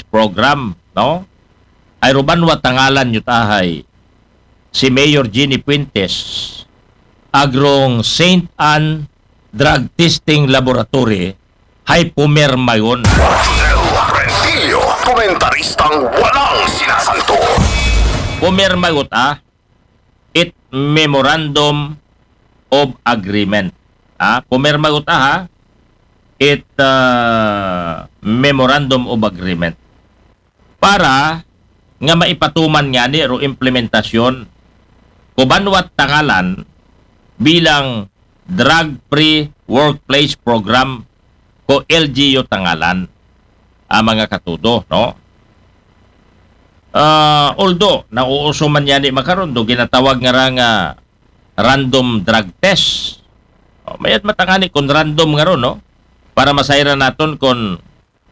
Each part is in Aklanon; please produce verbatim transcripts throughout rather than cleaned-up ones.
Program, no? Ay ruban wa tangalan yu tahay si Mayor Jeannie Fuentes, agrong Saint Anne Drug Testing Laboratory, hay pumirmayon. Rentillo, komentaristang walang sinasanto. Pumirmagot, ah, it Memorandum of Agreement. Ah, pumirmagot, ah, ha? It, ah, Memorandum of Agreement. Para nga maipatuman ngani ro implementasyon ko banwat tangalan bilang Drug Free Workplace Program ko L G U tangalan, a mga katudo, no? Ah, although, nauuso man ngani makaron do ginatawag nga ra nga random drug test. O, mayad matangani kon random nga ron, no? Para masayran naton kon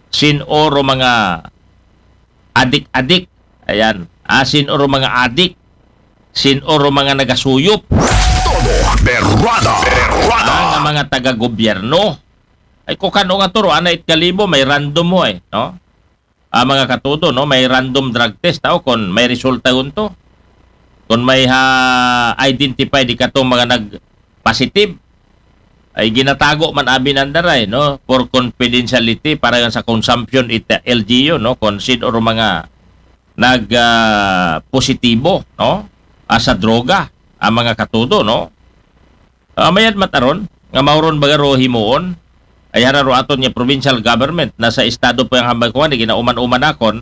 sin-o ro mga adik-adik. Ayan. Ah, sin-o ro mga adik. Sin-o ro mga nagasuyop. Todo berrada. Berrada. Ah, nga mga taga-gobyerno. Ay, kung kano nga turo, ana it kalibo, may random mo eh, no? Ah, mga katudo, no? May random drug test, tao, kung may resulta gunto. Kung may ha identify di katong mga nag-positive, ay ginatago man abi nandaray, no? For confidentiality, para yan sa consumption ita L G U, no? Kung sin-o ro mga nag, ah, positibo, no? Ah, sa droga, ang mga katudo, no? Ah, mayad mataron, nga mauron baga ro himuon, ay hara ro aton nga provincial government, na sa estado pa yang hambay kuwan, ginauman-uman akon,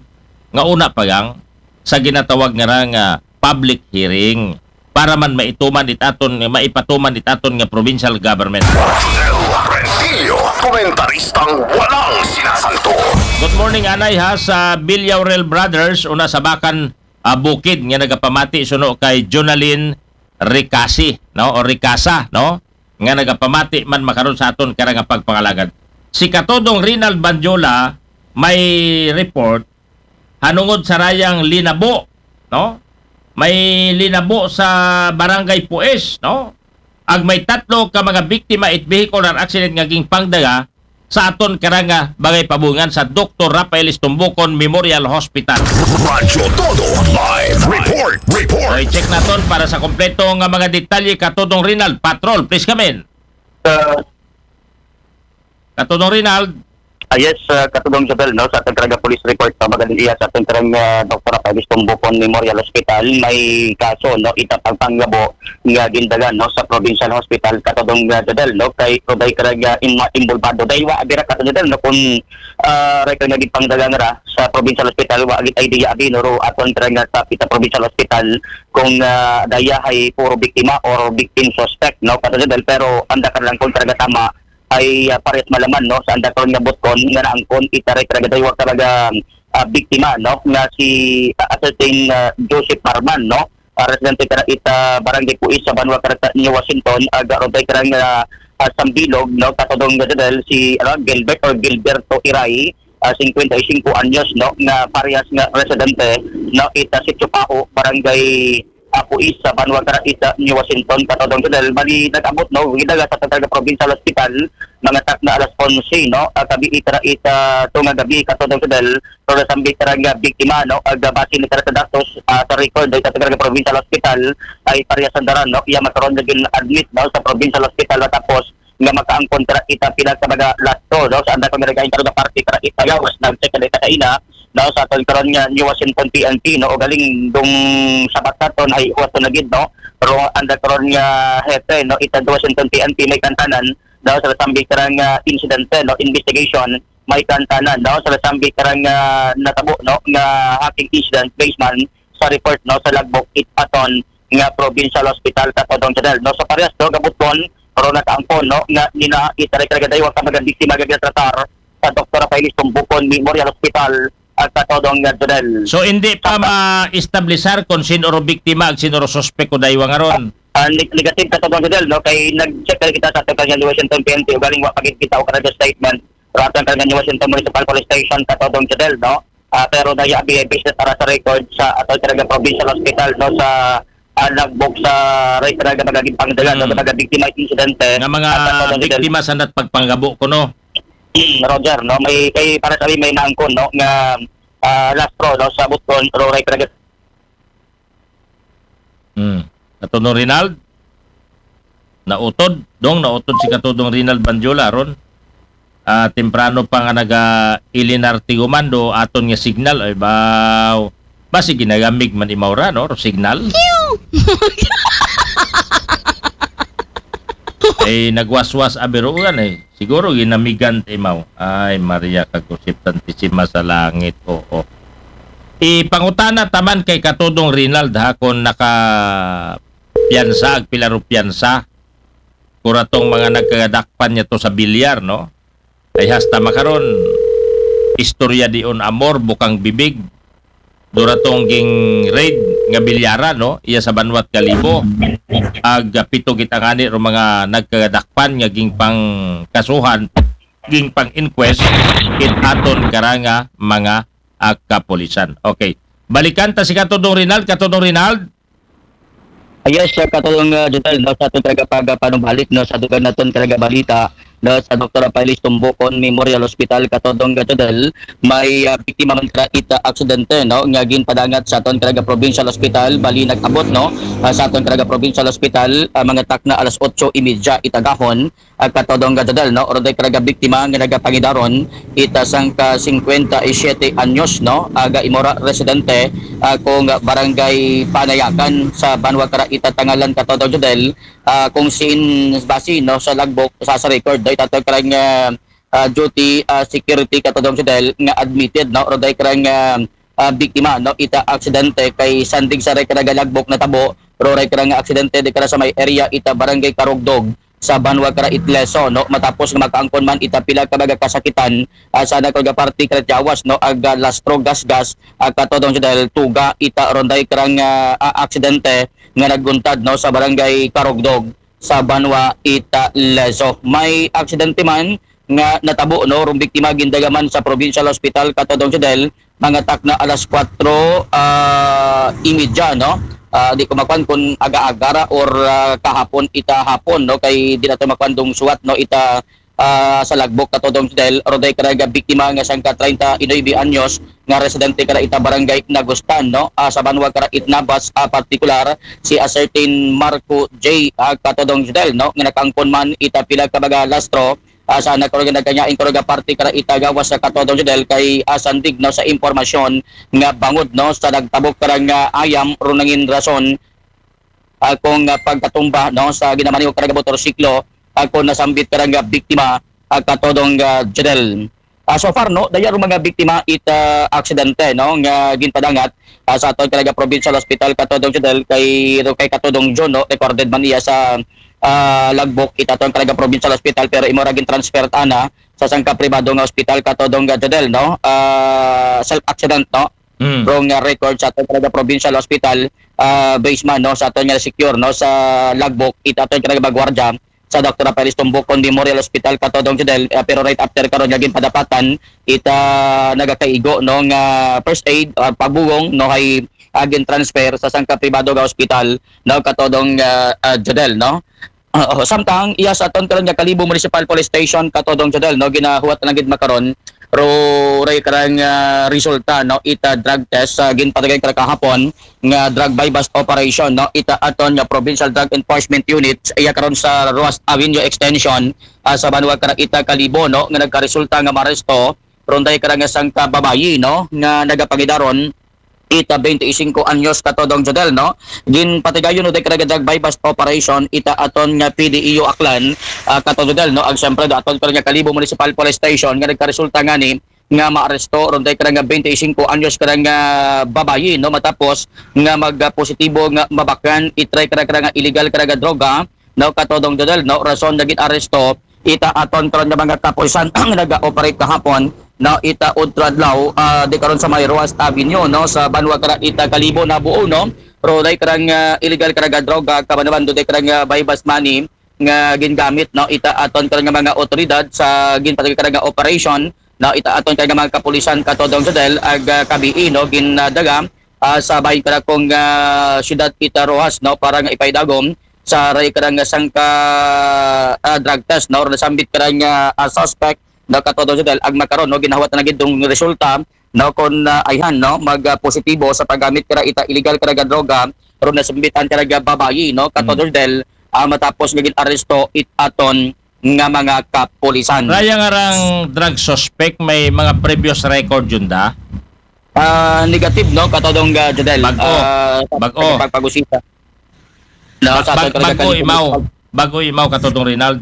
nga una pa gang, sa ginatawag nga ra nga public hearing, para man maituman it aton, maipatuman it aton nga provincial government. Rentillo, komentaristang walang sinasanto. Good morning, anay, ha, sa Villaurel Brothers, una sa Bakan, ah, Bukid, nga nagapamati suno kay Jonalyn Ricasi, no? O Ricasa, no? Nga nagapamati man makaron sa aton kara nga pagpangalagad. Si Katodong Rinald Bandiola may report hanungod sa rayang linabo, no? May linabo sa Barangay Puis, no? Ag may tatlo ka mga biktima it vehicular accident nga ginpangdaga sa aton kara nga bagay pabungan sa Doktor Rafael Estumbucon Memorial Hospital. Radyo Todo Live Report. Report. So, i-check naton para sa kompleto nga mga detalye, Katodong Rinald. Patrol, please come in. Uh, Katodong Rinald. Ah, yes, uh, Katodong Jodel, no, sa aton kara nga police report, no, magaling iya sa aton kara nga, uh, Doktor Rafael Estumbucon Memorial Hospital, may kaso, no, ita pagpanggabo nga gindagan, no, sa Provincial Hospital, Katodong, uh, Jodel, no, kay, kay kara nga in-, involvado. Dahil wa, abira, Katodong Jodel, no, kung, uh, record nga ginpangdagan ra sa Provincial Hospital, wa gid idea abi, no, ro aton kara nga sa ita Provincial Hospital, kung, uh, daya hay puro biktima or victim suspect, no, Katodong Jodel, pero anda ka lang kung kara nga tama, ay, ah, parehas malaman, no, sa anda karon nga butkon nga naangkon ita ray kara nga daywa ka mga, ah, biktima, no, nga si, ah, ascertain, ah, Joseph Parman, no, ah, residente kara ita Barangay Puis sa banwa kara sa New Washington, ag aron tay kara nga, ah, sambilog, no, Katodong Jodel, si, ano, Gilbert or Gilberto Iray, ah, singkwenta y singko anyos, no, nga parehas nga residente, no, ita Sitio Paho, Barangay, ah, Puis sa banwa kara ita New Washington, Katodong Jodel. Bali, nag-abot, no, gidagan sa aton kara nga provincial hospital, mga takna alas onse, no, ah, gabii kara ita, tunga gabii, Katodong Jodel, pero nasambit kara nga biktima, no, ag base ni kara sa datos, ah, sa record, ita kara nga provincial hospital, ay parehas andaran, no, iya makaron nga gin-admit, no, sa provincial hospital, matapos nga makaangkon kara ita pila ka mga lastro, no, sa anda kung nagain kara nga parte kara ita gawas, nag-check na ita kaina, no, sa aton karon nga New Washington P N P, no, o galing dung sabat naton ay huwaton na gid, no, pero anda karon nga hepe, no, ita Washington P N P may kantanan, no, sa nasambit kara nga insidente, no, investigation, may kantanan, no, sa nasambit kara nga natabo, no, nga hacking incident based man sa report, no, sa logbook it aton nga provincial hospital, Katodong Jodel, no, sa parehas, no, nga butkon, pero nakaangkon, no, nga nina ita ray kara nga daywa ka mga biktima nga ginatratar sa Doktor Rafael Estumbucon Memorial Hospital, ah, Katodong, ah, Jodel. So, hindi pa ma-establisar kung sin-o ro biktima ag sin-o ro suspek ko daywa nga ron? Ah, neg-, negative, Katodong Jodel, no? Kay nag-check na kita sa aton kara nga Washington P N P, o galing wa pa gid kita o kara nga statement. Pero aton kara nga Washington Municipal Police Station, Katodong Jodel, no? Ah, pero daya abi ay business para sa record sa aton kara nga provincial hospital, no? Sa, ah, logbook sa ray kara nga mga ginpangdagan, no? Hmm. Mga biktima insidente. Nga mga, ah, Katodong Jodel, biktima sa nat pagpanggabo ko, no? Hmm, Roger, no? May, kay para sa amin, may naangkon, no, nga, ah, Lastro, no, sa Butgon, Roray Caraga. Hmm. Katodong Rinald? Nautod? Dong, nautod si Katodong Rinald Bandyola ron. Ah, temprano pa nga naga-ilinar ti gumando aton nga signal. Ay, baw. Basi ginagamig man imaw ra, no? Signal. Ay, nagwaswas a birugan, eh. Siguro ginamigan ti imaw. Ay, Maria, kagusip Santisima sa langit. Oo. Ipangutana taman kay Katodong Rinald, ha, kung naka piyansa, agpila ro piyansa. Kuratong mga nagkagadakpan niya to sa bilyar, no? Ay hasta makaron, istorya dion amor, bukang bibig. Duratong ging raid nga bilyara, no? Iya sa Banwat Kalibo. Ag pito gitangani ro mga nagkagadakpan nga ging pangkasuhan, ging pang-inquest, kit aton karanga mga ah, kapulisan. Okay. Balikan ta si Katodong Rinald. Katodong Rinald? Yes, uh, Katodong uh, Jodel, no, sa aton karagapaga panumbalik, no, sa dugang naton karaga balita, no, sa Doktor Rafael Tumbukon Memorial Hospital, Katodong uh, Jodel, may uh, biktima man kara ita aksidente, no, nga ginpadangat sa aton karaga provincial hospital, bali nag-abot, no, uh, sa aton karaga provincial hospital, uh, mga takna alas otso y media itagahon, uh, Katodong uh, Jodel, no, oro day karaga biktima nga nagapangidaron ita sangka singkwenta y siyete anyos, no, aga imora residente, uh, kung barangay Panayakan sa Banwa kara ita Tangalan, Katodong Jodel, ah, kung sin basi, no, sa logbook, sa, sa record, do itato karang ah, ah, duty ah, security, Katodong Jodel, nga admitted, no, oro day karang ah, ah, biktima, no, ita aksidente kay sandig sa ray karaga logbook natabo ro ray karang aksidente di kara sa may area ita barangay Karugdog sa Banwa kara Itleso, no, matapos nga makaangkon man ita pila ka mga kasakitan ah, sa nakaraga parti kara yawas, no, aga Lastro Gasgas, ah, Katodong Jodel, tuga ita oro day karang ah, ah, aksidente nga naguntad, no, sa barangay Karugdog sa Banwa ita Lezo. May aksidente man nga natabo, no, rong biktima gindagaman sa Provincial Hospital, Katodong Jodel, mga takna alas kwatro ah, y media, no? Ah, di ko makuan kung aga-aga ra or ah, kahapon ita hapon, no? Kay di nato makuan dong suwat, no, ita ah, sa logbook, Katodong Jodel, oro day karaga biktima nga sangka treinta y nueve anyos nga residente kara ita barangay Nagustan, no? Ah, sa Banwa kara Itnabas, ah, partikular si a certain Marco J, ah, Katodong Jodel, no, nga nakaangkon man ita pila ka mga lastro ah, sa nakaraga nagkanyaing karaga parti kara ita gawas sa, Katodong Jodel, kay ah, sandig, no, sa impormasyon nga bangod, no, sa nagtabok karang ah, ayam ro nangin rason ah, kung ah, pagkatumba, no, sa ginamaniho karaga motorsiklo, ah, kung nasambit karang ah, biktima, ah, Katodong ah, Jodel. Ah, so far, no, daya ro mga biktima ita aksidente, no, nga ginpadangat ah, sa aton karaga Provincial Hospital, Katodong Jodel, kay ro kay Katodong John, no, recorded man iya sa ah, logbook ita aton karaga Provincial Hospital, pero imo ra gin-transfer ana sa sangka pribado nga hospital, Katodong ah, Jodel, no? Ah, self accident, no? Mm. Ro nga record sa aton karaga Provincial Hospital, ah, base man, no, sa aton nga secure, no, sa logbook ita aton karaga gwardiya sa Doktor Rafael Tumbukon Memorial Hospital, Katodong Jodel, ah, pero right after karon nga ginpadapatan ita nagakaigo, no, nga first aid or pagbugong, no, hay agin transfer sa sangka pribado nga hospital, no, Katodong ah, ah, Jodel, no. Oo, samtang iya sa aton karon nga Kalibo Municipal Police Station, Katodong Jodel, no, ginahuwat lang gid makaron ro ray karang ah, resulta, no, ita drug test sa ginpatagay kara kahapon nga drug buy bust operation, no, ita aton nga Provincial Drug Enforcement Unit sa iya karon sa Roas Avenue Extension ah, sa Banwa kara ita Kalibo, no, nga nagkaresulta nga maaresto ron day kara nga sangka babayi, no, nga nagapangidaron ita twenty-five anyos, Katodong Jodel, no? Ginpatigayon no day kara nga drug buy bust operation ita aton nga P D E U Aklan, ah, Katodong Jodel, no? Ag siyempre do aton kara nga Kalibo Municipal Police Station nga nagkaresulta ngani nga maaresto ron day kara nga twenty-five anyos kara nga babayi, no? Matapos nga magpositibo nga mabakan itry kara kara nga illegal kara nga droga, no, Katodong Jodel, no, rason nga gin-aresto ita aton karon nga mga kapulisan nga naga-operate kahapon, no, ita udto adlaw, ah, di karon sa may Roas Avenue, no, sa Banwa kara ita Kalibo nabuo, no, ro day karang ah, illegal kara nga droga, kaban naman do day karang ah, buy bust money nga gingamit, no, ita aton karon nga mga otoridad sa ginpatagay kara nga operation, no, ita aton karon nga mga kapulisan, Katodong Jodel, ag ah, kabii, no, gindaga ah, sa bahin kara kong ah, siyudad ita Roxas, no, para nga ipaidagom sa ray kara nga sangka ah, drug test, no, nasambit kara nga ah, suspect, no, Katodong Jodel, ag makaron, no, ginahuwat na gid dong resulta no, kung ah, ayhan, no, mag ah, positibo sa paggamit kara ita illegal kara nga droga, ro nasambit an kara nga babayi, no, Kato Jordel, ah, matapos nga gin-aresto it aton nga mga kapulisan. Raya nga rang drug suspect, may mga previous record yun da? Ah, negative, no, Katodong ah, Jodel. Bag-o. Ah, Bag-o. Pagpag-usisa. No, sa Bag, aton bago kalikan- imaw. Bago imaw, Katodong Rinald.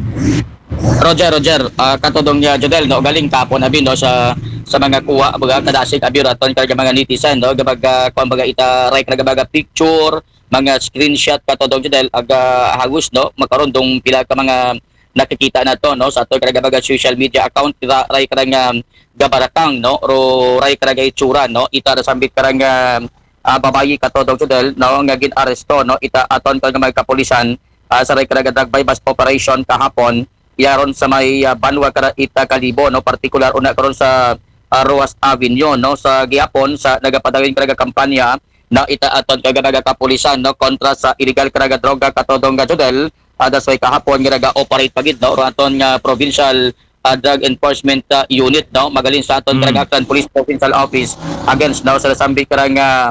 Roger, Roger, ah, Katodong ah, Jodel, no, galing kapon abi, no, sa sa mga kuha, baga kadasig abi raton kag mga netizen, no, gabag ah, kuan baga ita ray kag baga picture, mga screenshot, Katodong Jodel, aga hagos, no, makaron dong pila ka mga nakikita nato, no, sa aton kag baga social media account, ra- ray kag nga gabarakang, no, ro ray kag itsura, no, ita nasambit kag nga ah, babayi, Katodong Jodel, no, nga gin-aresto, no, ita aton kag mga kapulisan ah, sa ray kag drug buy-bust operation kahapon, yaron sa may ah, banwa kara ita Kalibo, no, partikular una karon sa ah, Roas Avenue, no, sa gihapon sa nagapadayon kag kampanya, no, ita aton kag mga kapulisan, no, kontra sa illegal kag droga, Katodong Jodel, ah, that's why kahapon nga naga-operate pa gid, no, ro aton nga provincial ah, drug enforcement ah, unit, no, magalin sa aton Mm. kag Aklan Police Provincial Office against, no, sa nasambit kag nga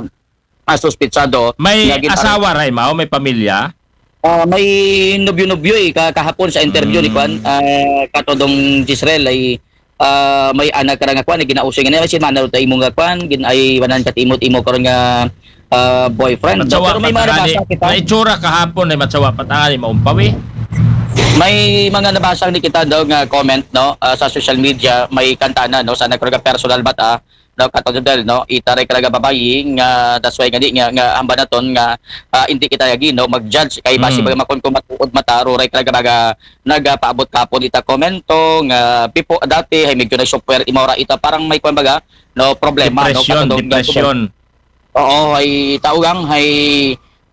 ah, suspetsado May nga gin- asawa ra imaw, may pamilya? Ah, may nobyo-nobyo eh, ka kahapon sa interview ni Mm. Kwan, ah, Katodong Jezreel ay ah, may anak ra nga Kwan, ay ginausing nga si Manalo ta imo nga Kwan, gin ay wanan kat imo imo karon nga ah, boyfriend. Matsawa Pero may pa mga tangani. nabasa kita. May itsura kahapon ay matsawa pa tangani, maumpawi. May mga nabasa ni kita daw nga comment, no, ah, sa social media, may kantana, no, sa nagkaroon personal bata, no, Katodong Jodel, no, ita ray kag babayi nga that's why nga di nga, nga hambal naton nga ah, hindi kita yagi, no, mag-judge kay basi Mm. baga makon kung matuod mata ro ray kag baga nagapaabot kapon ita komento nga pipo dati hay medyo nag-software imaw ra ita parang may kuan baga, no, problema, no, Depression, Katodong depression. Oo, hay taugang hay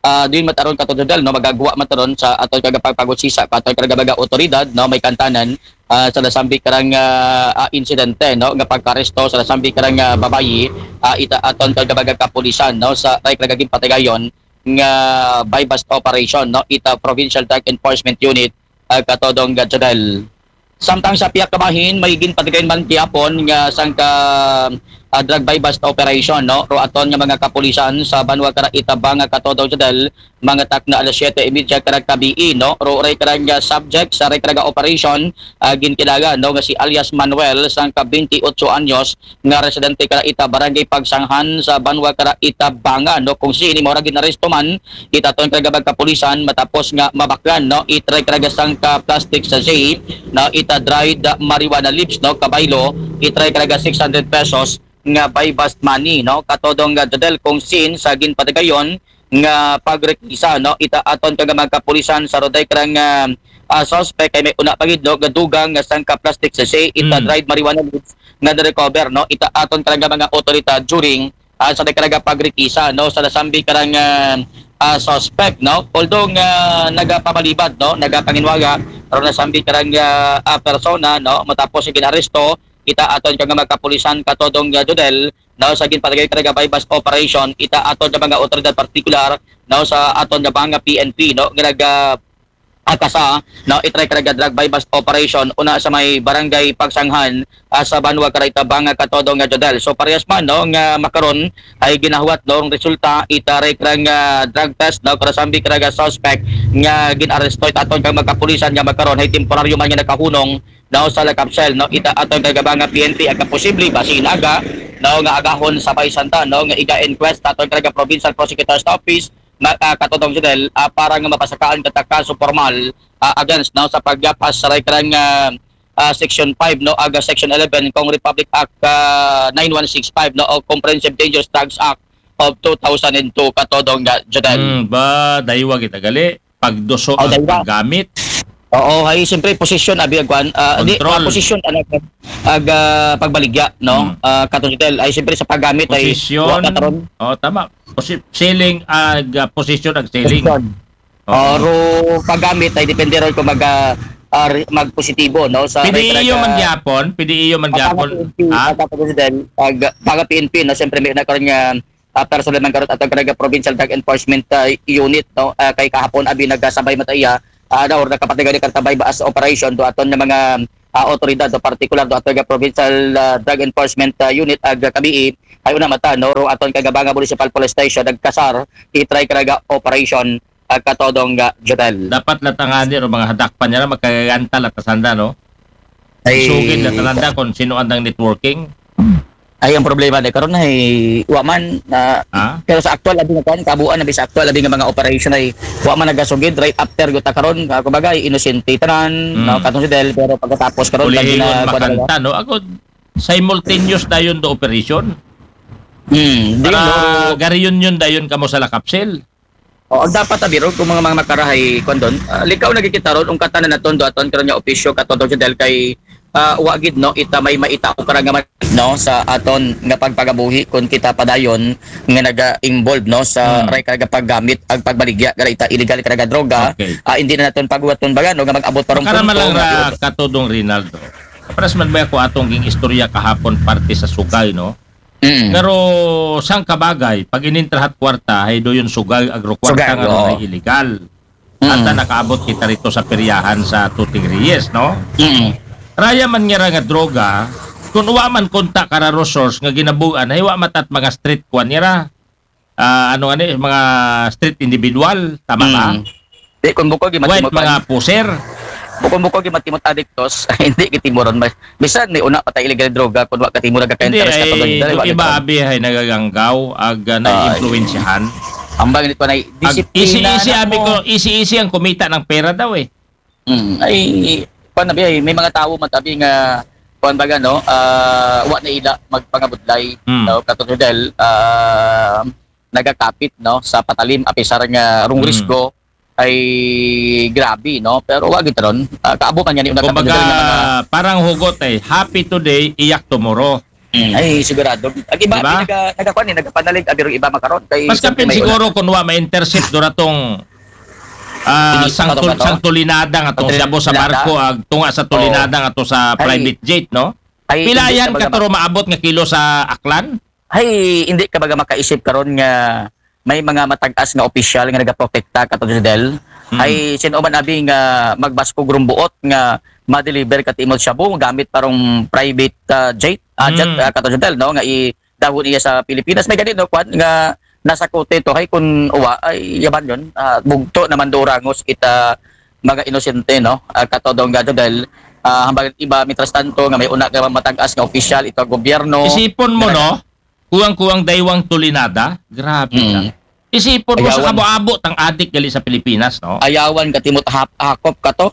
ah, din mataron, Katodong Jodel, no, magagawa mataron sa aton kag pagpagusisa ka aton kag baga otoridad, no, may kantanan ah, sa nasambit kag nga ah, insidente, no, nga pagkaresto sa nasambit kag nga babayi, ah, ita aton kag baga kapulisan, no, sa ray kag ginpatigayon nga buy-bust operation, no, ita Provincial Drug Enforcement Unit, ah, Katodong Jodel. Samtang sa pihak ka bahin, may ginpatigayon man gihapon nga sangka ah, drug buy-bust operation, no, ro aton nga mga kapulisan sa banwa kara ita Banga, Katodong Jodel, mga takna alas siyete y media kag gabii, no, ro ray kag nga subject sa ray kag operation ah, ginkilala, no, nga si alias Manuel, sangka twenty-eight anyos, nga residente kara ita Barangay Pagsanghan sa banwa kara ita Banga, no, kung sini mao ra ginaresto man ita aton kag kapulisan matapos nga mabaklan, no, it ray kag sangka plastic sachet, no, ita dried marijuana leaves, no, kabaylo it ray kag six hundred pesos nga buy-bust money, no, Katodong Jodel, kung sin sa ginpatigayon nga pagrekisa, no, ita aton kag mga kapulisan sa ro ray kag ah, suspect ay may una pa gid, no, nga dugang nga sangka plastic sachet ita Mm. dried marijuana leaves nga na-recover, no, ita aton kag mga otoridad during ah, sa ray kag pagrekisa, no, sa nasambit kag ah, ah, suspect, no, although nga nagapabalibad, no, nagapanginwaga ro nasambit kag ah, ah, persona, no, matapos nga ginaresto ita aton kag mga kapulisan, Katodong Jodel, no, sa ginpatigayon kag buy-bust operation ita aton kag mga otoridad partikular, no, sa aton kag mga P N P, no, nga naga akasa, no, it ray kag drug buy-bust operation una sa may barangay Pagsanghan ah, sa banwa kara ita Banga, Katodong Jodel. So parehas man, no, nga makaron ay ginahuwat, no, ang resulta ita ray kag drug test, no, kara sambi kag suspect nga ginaresto ita aton kag mga kapulisan nga makaron ay temporaryo man nga nakahunong, no, sa lakapsel, no, ita aton kag Banga P N P. Aga posible basi inaga, no, nga agahon sa Bay Santa, no, nga iga-inquest aton kag Provincial Prosecutor's Office, na, ah, Katodong Jodel, ah, para nga mapasakaan kata kaso formal ah, against, no, sa pagyapas sa ray kag ah, ah, Section five, no, aga Section eleven kung Republic Act ah, nine one six five, no, o Comprehensive Dangerous Drugs Act of two thousand and two, Katodong Jodel. Hmm, ba, daywa kita gali. Pagduso Oh, ang daywa. Paggamit. Oo, ay siyempre posisyon abi agwan, ah, di, Control. ah, posisyon ang ag ah, pagbaligya, no? Hmm. Ah, Katodong Jodel, ay siyempre sa paggamit ay Posisyon. wa na karon. Oh, tama. Posi- selling, ag, ah, posisyon ag selling. Posisyon. Oo. Oro paggamit ay depende ron kung mag ah, ah, re- magpositibo, no, sa P D E U ray kag man gyapon, P D E U man Pag gyapon. P N P, Ha? pag P N P, no, siyempre may na karon nga ah, personal man karon atong kag Provincial Drug Enforcement ah, Unit, no, ah, kay kahapon abi nagasabay mataiya ah, na or nakapatigayon kag buy-bust operation do aton nga mga ah, otoridad, o partikular do aton nga Provincial, ah, Drug Enforcement, ah, Unit ag kabii, hay una mata, no, rong aton kagabanga Municipal Police Station nagkasar, itry karaga operation, ah, katodong nga Jodel. Dapat latangani ro mga hadakpan niya na magkagaganta la ta sanda, no? Ay, sugid la ta sanda kung sino andang networking. Ay, ang problema na karon ay wa man, ah, Ha? Pero sa aktual abi nga kuan, kabuan abi sa aktual abi nga mga operation ay wa man nagasugid right after guta karon, ah, kumbaga, inosente tanan, Mm. no, katong si Del, pero pagkatapos karon, Ulihingon pag gina-, kuan na makanta, no? Ako, simultaneous dayon do operation. Hmm, di, Para no? Ga-reunion dayon kamo sa La Capsule. O, ang dapat abi ron kung mga, mga makarahay, kuan don, ah, likaw na gikita ron, ungkatan na naton do aton karon nga opisyo, katong si Del kay, ah, wa gid, no, ita may maita o karangaman, no, sa aton nga pagpagabuhi kung kita padayon nga naga-involve, no, sa Hmm. ray karaga paggamit ag pagbaligya kara ita illegal karaga droga. Okay. Ah, hindi na naton paguwaton baga, no, nga mag-abot pa ron Makara man lang punto ra nga katodong Rinaldo. Paras man ba ako atong ging istorya kahapon parte sa sugay, no? Mm. Pero sang kabagay, pag inintrahat kwarta, hay doyon sugay, agro kwarta Sugay, nga oo. Ay illegal. Mm. Ata nakaabot kita rito sa peryahan sa Tuting Reyes, no? Mm. Raya man nga ra nga droga, kung wa man konta kara resource nga ginabugan, hay wa matat mga street kwan nga ra. Ah, ano nga ni, mga street individual, tama ba? Mm. Di, kung bukog, yung White matimot mga puser. Bukog-bukog yung matimot adiktos, hindi kitimoron. Mas, bisan may una patay illegal droga, kung wa katimo nagaka-interest Hindi, ka ay, pag-, yung iba, abi, ay nagaganggaw, ag, ah, Ay. naiimpluwensyahan. Ang bang nito na, Ag, disiplina isi-isi, na abi mo. ko, isi-isi ang kumita ng pera daw, eh. Mm, ay, kuwan, abi, ay, may mga tao matabi nga, kuwan baga, no, ah, wa na ila magpangabudlay, Mm. no, katong Del, ah, nagakapit, no, sa patalim, apisar nga rong Mm. risko, ay grabe, no? Pero wa gid ron. Ah, kaabo man yan, yung Kumbaga, nagkatunggal na mga parang hugot eh. Happy today, iyak tomorrow. Mm, ay, sigurado. Ang iba, Di ba? naga-, nagakuan eh, nagapanalig, abi ron iba makaron. Kay Mas siyempre kapin may siguro una. kung wa ma-intercept duratong, ah, Hindi, sang ano tul-, ba to? sang tulinada nga to, Tulinada? siya po sa barko, ag tunga sa Oo. tulinada nga to sa Ay. private jet, no? Ay, Pila hindi yan ka baga katuro maabot nga kilo sa Aklan? Ay, hindi ka baga makaisip karon nga may mga matag-as nga opisyal nga nagaprotekta katong si Del. Hmm. Ay, sino man abi nga magbaskog rong buot nga ma-deliver ka timod shabu gamit parong private, ah, jet, ah, jet, Hmm. ah, katong si Del, no, nga idahon iya sa Pilipinas. May gani, no, kwan, nga nasa kote to, hay kun uwa, ay, yaban yun, ah, bugto naman do rangos kita mga inosente, no? Ah, katodong gado dahil, ah, hambang iba, mientras tanto, nga may una ka matag-as nga opisyal, ito ang gobyerno, Isipon mo, nga no? Kuwang-kuwang daywang tulinada. Grabe ka. Mm. Isipon mo sa Ayawan. kabo-abo tang adik gali sa Pilipinas, no? Ayawan ka timot hap-, hakop ka to.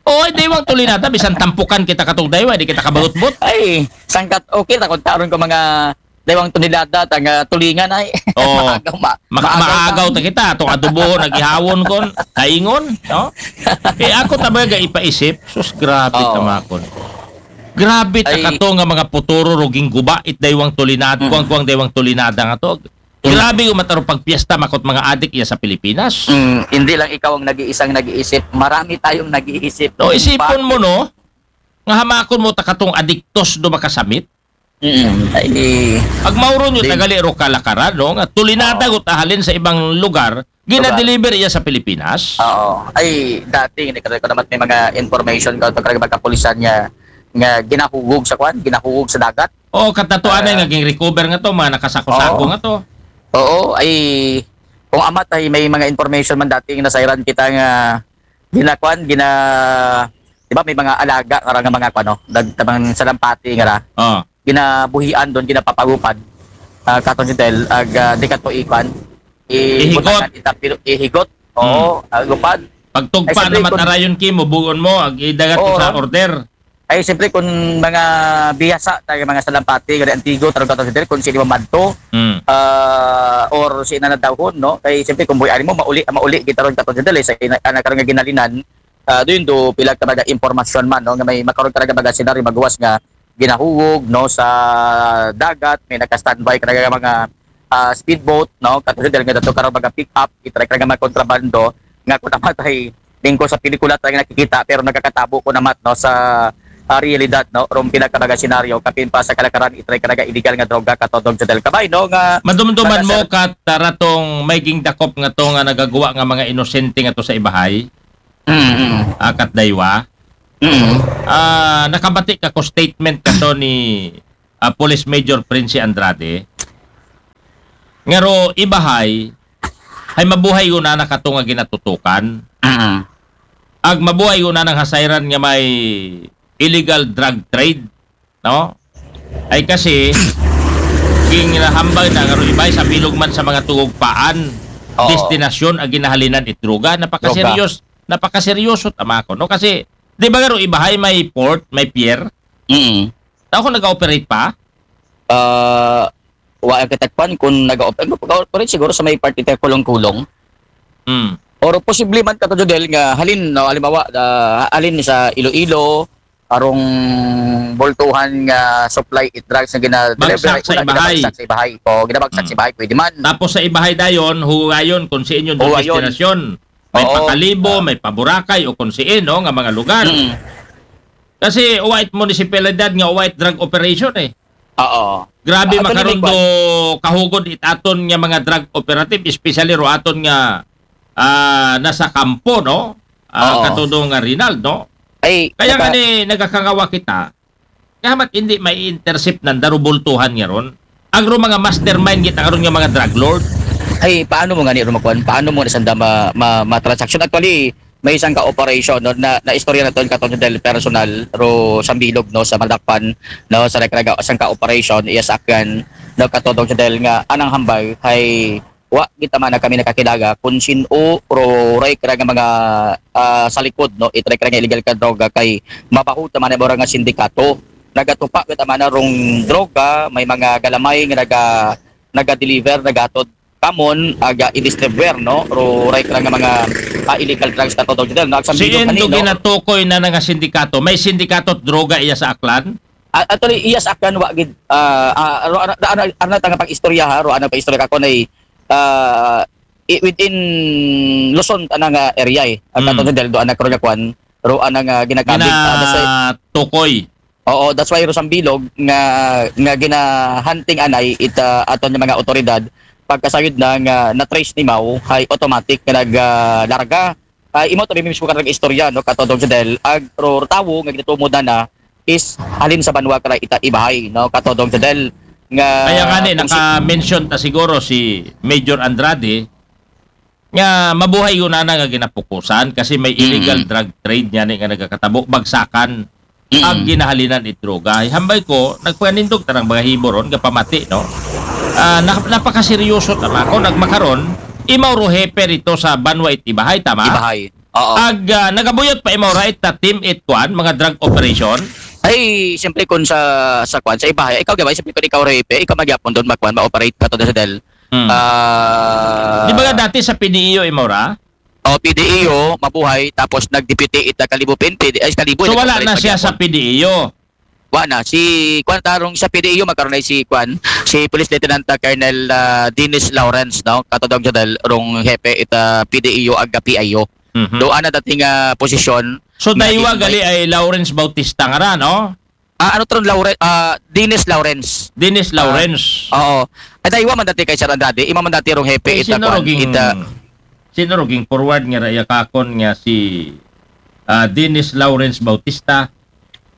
Oo, ay daywang tulinada, bisan tampukan kita katong daywa, di kita kabalutbot. Ay, sangkat, okay, takot taron ko mga daywang tulinada, tang, ah, tulingan ay. Oo. Maagaw, ma-, Maka-, maagaw maagaw ta. ta kita, atong adobo, nagihawon kon, kaingon, no? Eh, ako tabaga ipaisip, sus, grabe Oo. tamakon. Grabe ta Ay. kato nga mga puturo, ruging guba, it daywang tulinad, Mm. kuwang-kuwang daywang tulinada nga to. Mm. Grabe yung mataro pagpiesta, makot mga adik iya sa Pilipinas. Mm, hindi lang ikaw ang nag-iisang nag-iisip, marami tayong nag-iisip. No, kung isipon mo, bakit. no? Nga hamakon mo ta katong adiktos do makasamit. Mm, ay, Ag mauron yung di- tagali ro kalakaran, no? Nga tulinada Oo. go tahalin sa ibang lugar, gina-deliver iya sa Pilipinas. Oo. Ay, dati, hindi ka ko naman may mga information ka, pag magkapulisan niya, nga ginahugog sa kwan, ginahugog sa dagat. Oo, katatuan Ah. nga ging-recover nga to, mga nakasako-sako Oo. nga to. Oo, ay, kung amat ay may mga information man dating nasayran kita nga ginakuan, gina-, di ba, may mga alaga nga ra nga mga kuan, no? Dag-, tabang salampati nga ra. Oh. Ginabuhian doon, ginapapagupad. Ah, katon si Del, ag, ah, di ka to ikuan. I-, Ihigot. butakan, itapilo, ihigot. Oo, Hmm. agupad. Pagtugpa Ay, siyempre, na kung matarayon ki, mubugon mo, ag idagat mo Oo, sa no? order. Ay, siyempre, kung mga bihasa, tayo mga salampati, nga antigo, tarong katon si Del, kung sino mamadto, Hmm. ah, or si inanadahon, no? Kay, siyempre, kung buhay mo, mauli, mauli, gitaron katon si Del, eh, sa ina-, anak karong nga ginalinan, ah, doon do pila ka mga impormasyon man, no, nga may makaroon ka nga mga senaryo maguwas nga ginahuwog, no, sa dagat, may naka-standby ka nga mga, ah, speedboat, no, katulad dahil nga dato karon mga pick-up, itry ka nga mga kontrabando, nga kung namatay, lingko sa pelikula tayo nakikita, pero nagkakatabo ko namat, no, sa, ah, realidad, no, rong pila ka mga senaryo, kapin pa sa kalakaran, itry ka nga illegal nga droga, katodong Jodel Kabay, no, nga Madumduman mo, nagaser- kat taratong may gingdakop nga to nga nagagawa nga mga inosente nga to sa ibahay? Mm, mm. Akat daywa. Mm. Ah, nakabati ka ko statement kato ni ah, Police Major Prince Andrade. Nga ro ibahay, hay mabuhay guna na kato nga ginatutukan. Mm. Ag mabuhay guna nang hasayran nga may illegal drug trade, no? Ay kasi, ginahambal na nga ro ibahay sa bilog man sa mga tugog paan, Oo. destinasyon ang ginahalinan it droga. Napakaseryos, napakaseryoso tama ko, no? Kasi, di ba nga ro ibahay may port, may pier? Mm. Tao ko nag-operate pa? Ah, wa ang katakpan kung nag-operate. Nag-operate siguro sa may parte tayo kulong-kulong. Hmm. Or posible man kato, Jodel, nga halin, no, halimbawa, ah, halin sa Iloilo, arong bultuhan nga supply it drugs nga gina-deliver. Bagsak sa Una, ibahay. Ginabagsak sa ibahay. O, ginabagsak Mm. sa ibahay, pwede man. Tapos sa ibahay dayon, hugayon kung siin yung Hugayon. destinasyon. May Oo. Pakalibo, may Paboracay, o kung siin, no, nga mga lugar. Mm. Kasi white municipality nga white drug operation eh. Oo. Grabe Actually, makaron may do kahugod it aton nga mga drug operative, especially ro aton nga ah, nasa kampo, no? Ah, Oo. Katudo nga Rinald, no? Ay, Kaya nga naka- ni nagakangawa kita, nga hamat hindi may intercept ng darubultuhan nga ron. Agro mga mastermind kita karon nga mga drug lord. Ay, paano mo nga ni rumakuan? Paano mo na sanda ma, ma, ma-transaction? Actually, may isang ka-operation, no, na, na istorya na to kato, Jodel, personal, ro sambilog, no, sa Madakpan, no, sa nagkaraga isang ka-operation, iya sa Akyan, no, kato, Jodel, nga anang hambal kay wa kita man na kami nakakilaga kung sino ro ray kara nga mga ah, sa likod, no, itry kara nga illegal ka droga kay mabaho ta man nga sindikato. Nagatupa kita man rong droga, may mga galamay nga naga naga-deliver, nagatod kamon, aga i-distribuer, no, ro ray kara nga mga ah, illegal drugs kato, Jodel, no? Agsambilog Siin ani, do no? Ginatukoy na nga sindikato? May sindikato droga iya sa Aklan? Ah, actually, iya sa Aklan wa gid, ah, ah, ro, ano, ano, ano, tanga pag-istorya ha, ro, ano pag-istorya ka ko na, ah, i- within Luzon, ana nga area eh. Ang Mm. kato, Jodel, do, ana, karon nga kuan, ro, ana nga ginagamit, ah, that's why, Ginatukoy. Oo, that's why ro sambilog nga, nga ginahunting anay it, ah, aton nga mga otoridad, pagkasayod na nga na-trace ni Mau, hay automatic nga nag, ah, larga. Ah, imo to mismo ka nag-istorya, no, kato, Jodel, ag ro tawo nga ginatumod na na is halin sa banwa kara ita ibahay, no, kato, Jodel, nga Kaya nga ni, kung si- naka-mention ta siguro si Major Andrade nga mabuhay yun na nga ginapukusan kasi may illegal Mm. drug trade niya ni nga nagakatabo, bagsakan, Mm. ag ginahalinan it droga. Hambay ko, nagpanindog tarang mga hibo ron, gapamati, no? Ah, na, napakaseryoso tama ko, nagmakaron, imaw ro hepe rito sa banwa it ibahay, tama? Ibahay. Oo. Ag ah, nagabuyot pa imaw ra it ta team it kwan, mga drug operation. Ay, siyempre kung sa sa kwan, sa ibahay, ikaw, di ba? Siyempre kung ikaw, Repe, ikaw magyapon doon, magkwan, ma-operate ka to, Jodel. Hmm. Ah, Di ba nga dati sa P D E O imaw ra? O, P D E O, mabuhay, tapos nag-deputy ita Kalibo P N P, ay, Kalibo, So ito, wala na Kalibo, siya sa P D E O. Wala na. Si, kwan, tarong sa P D E O, magkaroon na si, kwan, si Police Lieutenant, ah, Colonel ah, Dennis Lawrence, no? Katodong siya dahil rong hepe ita P D E O, aga P I O. Mhm. Do, ana dating ah, posisyon. So na daywa di- gali ay Lawrence Bautista nga ra, no? Ah, ano tron, Lawrence? Ah, Dennis Lawrence. Dennis Lawrence. Oo. Ay, daywa man dati kay Sir Andrade. Ima man dati rong hepe Ay, ita, sino kwan, roging, ita. sino roging forward nga raya kakon nga si ah, Dennis Lawrence Bautista?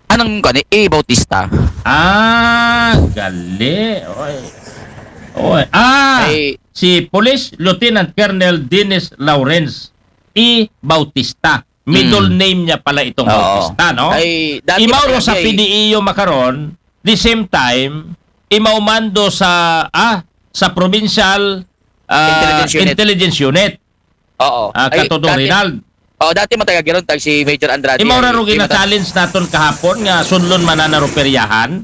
Anong kani? E. Bautista. Ah, gali. Oy. Oy. Ah, Ay, si Police Lieutenant Colonel Dennis Lawrence E. Bautista. Middle Hmm. name niya pala itong Oo. Bautista, no? Ay, dati Imaw pa ro talaga sa eh. P D E O makaron, the same time, imaw mando sa, ah, sa provincial ah, Intelligence Unit. Intelligence Unit. Oo. Ah, Ay, Katodong dati- Rinald. Oh, dati mataga giron tag si Major Andrade. Imaw ra Ay, ro di mata- gina-challenge naton kahapon nga sunlon man na ro peryahan.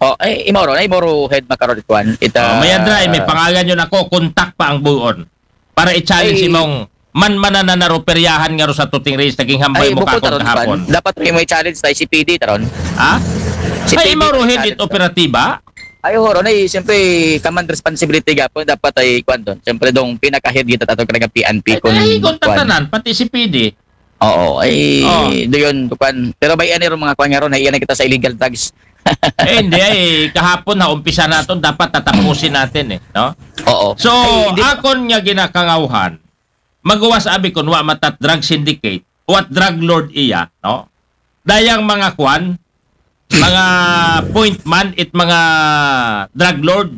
Oh, ay, imaw ro, ay, imaw ro head makaron, kwan. Ita, Oh, may adra, may pangalan yun ako, kontak pa ang buon. Para i-challenge Ay. Imong man man na na ro peryahan nga ro sa tuting race, naging hambay Ay, mo bukod kakon aron, kahapon. kwan. Dapat may, may challenge tayo si P D taron. Ha? Si Ay, P D imaw ro head challenge. it operatiba? Ay, horo na eh. Siyempre, command responsibility gapon. Dapat ay, kwan doon. Siyempre, dong pinaka-head kita ato kaya P N P Ay, kung, ay, kwan. kontaktanan, pati si P D. Oo, ay, Oh. doon, kwan. Pero bay ani ro mga kwan nga ron, naiyan na kita sa illegal drugs. Eh, hindi ay, kahapon ha, umpisa natin, dapat tatapusin natin eh, no? Oo. So, Ay, hindi- akon nga ginakangawhan, magawas abi kun wa matat drug syndicate, what drug lord iya, no? dayang mga kwan, mga point man it mga drug lord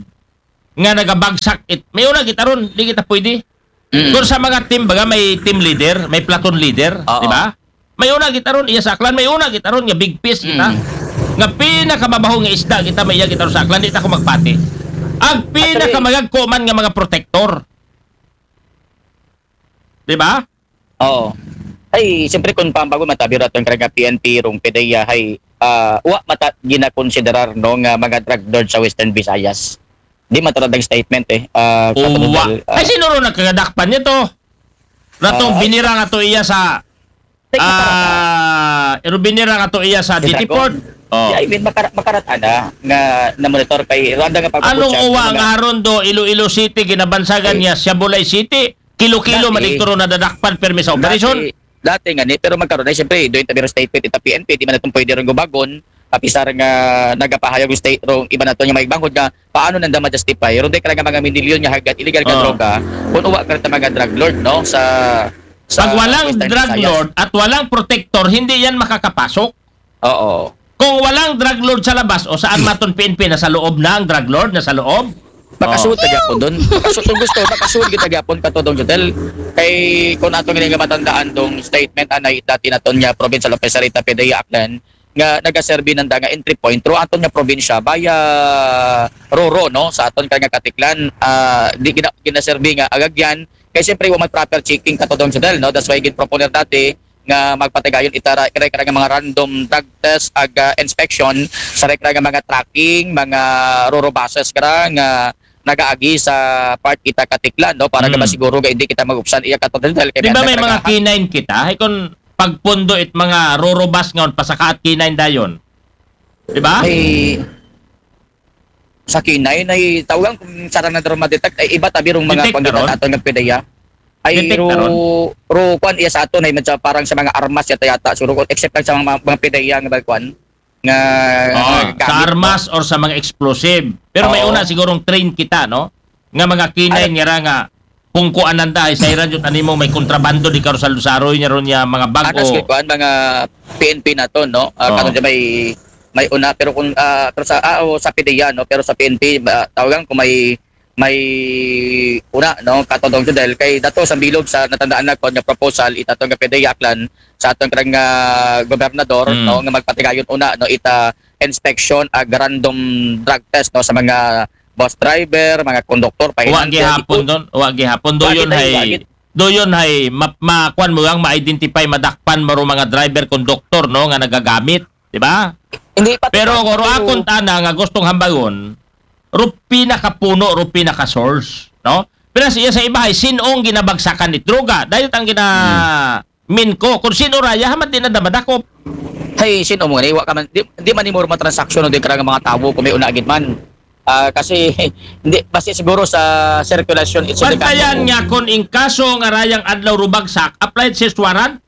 nga nagabagsak it. May una kita ron, di kita pwede. Mm. Kung sa mga team, baga may team leader, may platoon leader, Oo. di ba? May una kita ron, iya sa Aklan, may una kita ron, nga big fish kita. Mm. Nga pinakamabaho nga isda kita, may iya kita ron sa Aklan, di ta ko magpati. Ang pinakamagagko man nga mga protector. Di ba? Oo. Ay, siyempre kung pambago matabi raton karang P N P rong PDEA hay ah, wa mata ginakonsiderar no nga mga drug lord sa Western Visayas. Di mataradang statement eh. Ah, sa Uwa. Tagdal, ah, Ay, sino ron nagkagadakpan niya to? Ratong Ah. binira nga to iya sa Tek, ah, iro binira nga to iya sa Sa D T Dragon. Port. Oh. Yeah, I mean, makara- makarata na nga na-monitor kay Randa nga pagpaputsyag Anong uwa mga- nga haron do Iloilo City ginabansagan Ay. Niya, Siabulay City, kilo-kilo Dati. Madikto ron nadadakpan permi sa operasyon? Dati, dati nga ni, pero magkaroon na, siyempre, doon tabi statement ita P N P, di man natin pwede rin gubagon, apisar nga nagapahayag yung state rong iba nato nga may banghod nga paano nanda ma-justify ron di ka lang mga minilyon nga hagad illegal nga Oh. Droga kung uwa ka rin mga drug lord, no, sa, sa Pag walang Western drug Visayas. Lord at walang protector, hindi yan makakapasok. Oo. Kung walang drug lord sa labas, o saan maton P N P, nasa loob na ang drug lord, nasa loob? Makasud ta gyapon doon. Makasud kung gusto, makasud kita gyapon ka to dong Jodel. Kay kung ato nga matandaan dong statement anay dati naton nga provincial officer ita PDEA Aklan nga nagaserbi nanda nga entry point ro aton nga probinsya via Roro, no, sa aton ka nga Katiklan, ah, di gina, ginaserbi nga agagyan kay siyempre wa may proper checking ka to dong Jodel, no. That's why gin proponer dati nga magpatigayon itara kira kira nga mga random drug test ag ah, inspection sa kira nga mga trucking, mga Roro buses kira nga nagaagi sa part ita Katiklan, no, para Mm. nga masiguro nga hindi kita magupsan iya katong dahil kay Di ba may nanda mga kira K nine kita? Ay kung pagpundo it mga Roro bus nga pasakaat K nine dayon. Di ba? Ay, sa K nine ay tawagan kung sarang na daw ma-detect ay iba tabi rong mga Detect na panggitan ron? Ato nga PDEA. Ay Detect ro, na ron? Ro kwan iya sa ato na medyo parang sa mga armas yata yata, suro ko, except lang sa mga, mga PDEA nga ba kwan nga Oh, nga sa gamit, armas or sa mga explosive. Pero may Oo. una sigurong train kita, no? Nga mga K nine Ay. Nga ra nga kung kuanan da, ay sa iran yun, animo may kontrabando di karo sa Lusaroy niya ron niya mga Anas bago. Kay kwan, mga P N P nato, no? Ah, Oo. Karon siya may may una pero kung ah, pero sa ah, o sa PDEA, no, pero sa P N P ah, tawagan ko may may una, no, katodong Jodel kay dato sa bilog sa natandaan na ko nga proposal itato nga PDEA Aklan sa atong karang ah, gobernador, Mm. no, nga magpatigayon una, no, ita inspection ag random drug test, no, sa mga bus driver, mga konduktor, Wa pahinante, gihapon doon, wa gihapon do Wa yun gihapon, hay wa gihapon. Do yun hay ma, ma, kwan mo ang ma-identify, madakpan mo mga driver, konduktor, no, nga nagagamit, di ba? Hindi pa Pero kung akon tana nga gustong hambagon, ro pinakapuno, ro pinaka-source, no? Pero siya sa iba ay sinong ginabagsakan ni droga. Dahil ang gina min ko, kung sino raya, hamat di na damadakop. Hey, sino mo nga wa ka man, di, di man imo mga transaksyon o di ka nga mga tawo kung may una gid man. Ah, kasi hindi basi siguro sa circulation it's Bantayan nga kung in kaso nga rayang adlaw rubagsak, applied search warrant,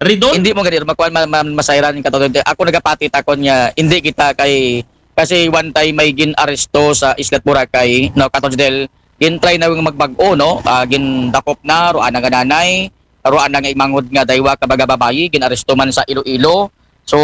Ridon? Hindi mo gani makuan ma, ma, masayran ka to. Ako nagapati takon nga hindi kita kay kasi one time may gin-aresto sa Isla Boracay, no, Kato Jodel, gin-try na yung magbag-o, no? Ah, gindakop na, roan na nga nanay, roan na nga imangod nga daywa ka baga babayi, gin-aresto man sa Iloilo. So,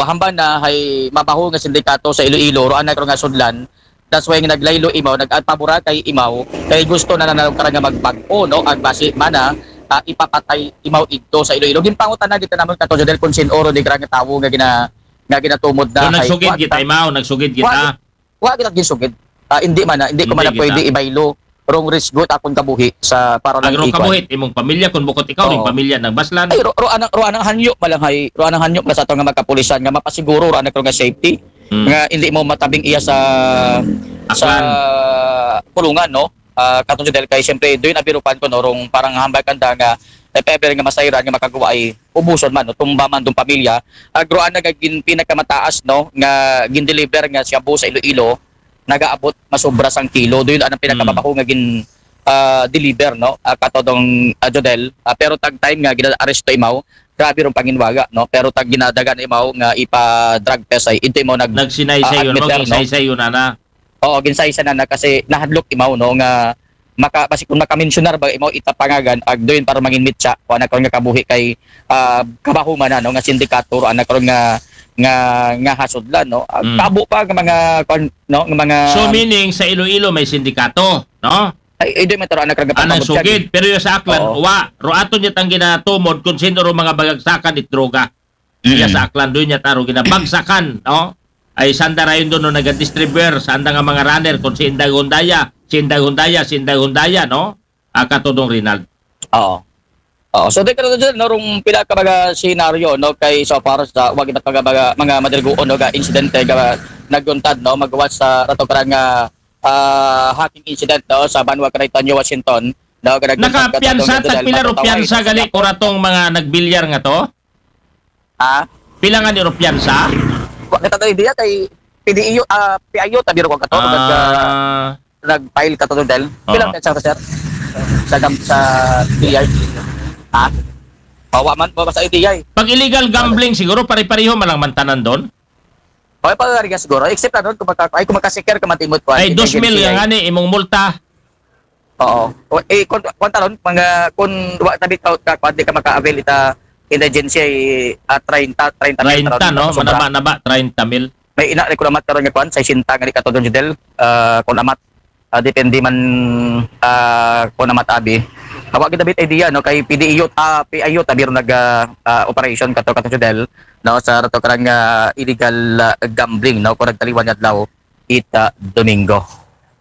hamba na hay mabaho nga sindikato sa Iloilo, roan na nga sudlan. That's why nga naglaylo imaw, nag-agpabura kay imaw, kay gusto na nanalog ka nga magbag-o, no? Ang basi man na ah, ipapatay imaw idto sa Iloilo. Ginpangutan na kita naman Kato Jodel kung sin oro di ka nga tawo nga gina nga ginatumod na So, hay- nagsugid wa kita, imaw, nagsugid kita. Wa, wa kita ginsugid. Ah, hindi man na, hindi ko Hindi man na kita. Pwede ibaylo rong risk good akong kabuhi sa para lang Agro ikuan. Kabuhit, imong pamilya, kung bukot ikaw, Oo. Yung pamilya ng Baslan. Ay, ro, ro anang ro anang hanyo malang hay, ro anang hanyo mala sa atong nga magkapulisan nga mapasiguro ro anang nga safety. Mm. Nga hindi mo matabing iya sa sa Aklan. Pulungan, no? Ah, Kato Jodel kay siyempre doon abirupan ko no rong parang hambal kanda nga if ever nga masayran nga makagawa ay ubuson man no, tumba man dong pamilya. Agroan na nga gin pinakamataas no nga gin-deliver nga shabu sa Iloilo nagaabot masobra sang kilo. Doon ang pinakamabaho nga gin ah, deliver no. Ah, katodong ah, Jodel. Ah, pero tag time nga gina-aresto imaw, grabe rong panginwaga no. Pero tag ginadagan imaw nga ipa drug test ay ito imaw nag Nagsinaysay ah, yun, admit no? there, no? Nagsinaysay yun, ana. Oo, ginsaysa na na kasi nahadlok imaw no nga maka basi kung maka-mensionar ba imo ita pangagan, ag duyon para mangin mitsa, kuan na karon nga kabuhi kay, ah, kabahuman na, no, nga sindikato, ro ana karon nga, nga, nga hasudlan, no. Ah, Mm. kabo pa nga mga, kuan, no, nga mga So meaning sa Iloilo may sindikato, no? Ay, ay, di man taro ana karon nga Anang pagpabugtag. sugid, pero yung sa Aklan, Oo. wa, ro aton niya tang ginatumod kung sino ro mga bagagsakan it droga. Iya Mm. sa Aklan, doon niya taro ginabagsakan, no? Ay sanda rayon doon no nagadistribuer, sanda nga mga runner, kung si Inday Hundaya, si Inday Hundaya, si Inday Hundaya, no? Ah, Katodong Rinald. Oo. Oo. So, di ka na dyan, no, rong pila ka mga senaryo, no, kay so far sa wag iba't mga, mga, mga madaliguon, no, ga insidente ga naguntad, no, magawas sa rato karang nga, ah, hacking incident, no, sa Banwa Caritanyo, Washington, no, ga naguntad ka Nakapiyansa, tong General tagpila ro Matutaway, piyansa no, gali sa ko ratong mga nagbilyar nga to? Ha? Pila nga ni ro piyansa? Wa kita idea kay P D E U, ah, P I U, tabi ro ko kato, nag, ah, Ah, nag-file ka to, Del. Pila Oo. ka sa, sir? Sa, gam- sa D I. Ha? Bawa man, bawa sa D I. Pag illegal gambling siguro pare-pareho man lang mantanan doon. Okay, pag siguro. Except na doon, kung, maka, ay, kung makasiker ka man timot ko. Ay, dos mil nga ni imong multa. Oo. O, eh, kung, kung taron, mga, kung wa tabi ka, ka, kung di ka maka-avail ita, indigency, ah, treinta, treinta mil, treinta, no? Sobra. Manaba na ba? Treinta mil. May ina, ko namat karon nga kuan, sesenta nga di ka to, Del. Ah, kung amat, ah, depende man, ah, kung amat abi. Hawa kita bit idea, no, kay P D E U, ah, P I U, tabi ro nag, ah, ah, operation kato, kato, Del, no, sa rato karang, ah, illegal, ah, gambling, no, kung nagtaliwan nga adlaw, ita Domingo.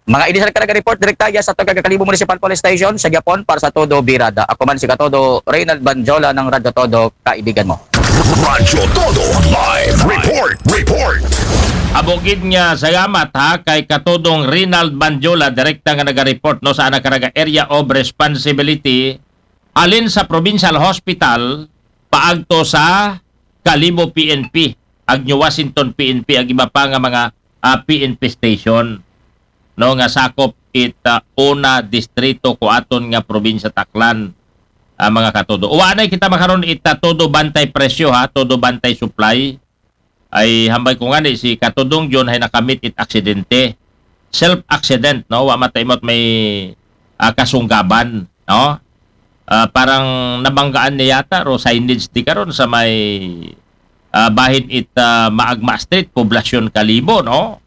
Mga idisar ka nag-report direkta ya sa Tugga Kalibo Municipal Police Station sa Japon para sa Todo Birada. Ako man si Katodo Reynald Banjola ng Radyo Todo, kaibigan mo. Radyo Todo Live Report. Report. Abogid nga salamat ha kay Katodong Rinald Banjola, direkta nga naga-report no sa ana karaga area of responsibility alin sa Provincial Hospital paagto sa Kalibo P N P, ag New Washington P N P, ag iba pa nga mga ah, P N P station, no, nga sakop it ah, una distrito ko aton nga probinsya Taklan, ah, mga katodo. Uwa na kita makaron it ah, todo bantay presyo ha, todo bantay supply. Ay hambay ko nga ni si Katodong John ay nakamit it aksidente. Self accident, no? Wa mataimot may ah, kasunggaban, no? Ah, parang nabanggaan niya yata ro signage di karon sa may ah, bahin it ah, Maagma Street, Poblacion, Kalibo, no?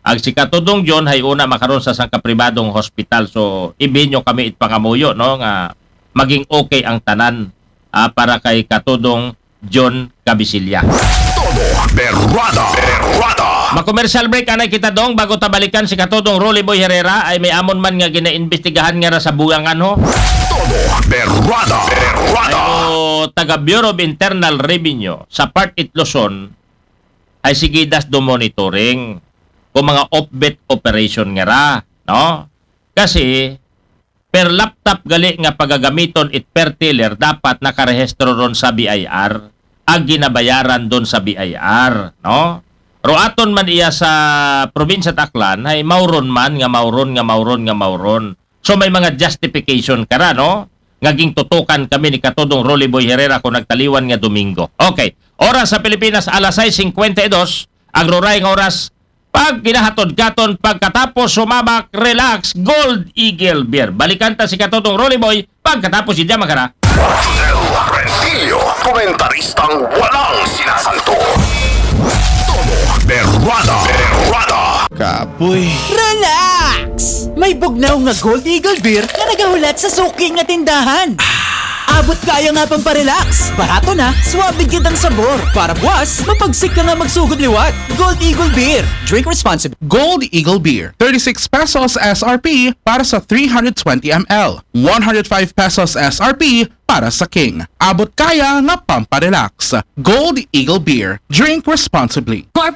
Ag si Katodong John hay una makaron sa sangka pribadong hospital. So, ibinyo kami it pangamuyo, no, nga maging okay ang tanan ah, para kay Katodong John Cabisilla. Todo Berrada. Berrada. Ma-commercial break anay kita dong bago ta balikan si Katodong Rolly Boy Herrera ay may amon man nga ginaimbestigahan nga ra sa buyangan ho. Todo Berrada. Ay Berrada. o taga Bureau of Internal Revenue sa part it Luzon ay sigidas do monitoring kung mga offbeat operation nga ra, no? Kasi per laptop gali nga pagagamiton it per teller dapat nakarehistro ron sa B I R ag ginabayaran don sa B I R, no? Ro aton man iya sa probinsya Aklan hay mauron man nga mauron nga mauron nga mauron. So may mga justification kara, no? Nga gingtutukan kami ni Katodong Rolly Boy Herrera kung nagtaliwan nga Domingo. Okay. Oras sa Pilipinas, alas sais singkwenta y dos. Ag ro ray nga oras, pag ginahatod katon pagkatapos sumabak, relax, Gold Eagle Beer. Balikan ta si Katodong Rolly Boy pagkatapos si Jamakara. Del Rentillo, komentaristang walang sinasanto. Todo Berrada. Berrada. Kapoy. Relax! May bugnaw nga Gold Eagle Beer nga nagahulat sa suki nga tindahan. Abot kaya nga pamparelax. Barato na, swabe gid ang sabor. Para buwas, mapagsik ka nga magsugod liwat. Gold Eagle Beer. Drink responsibly. Gold Eagle Beer, thirty-six pesos S R P para sa three hundred twenty M L, one hundred five pesos S R P para sa King. Abot kaya nga pamparelax. Gold Eagle Beer. Drink responsibly. Core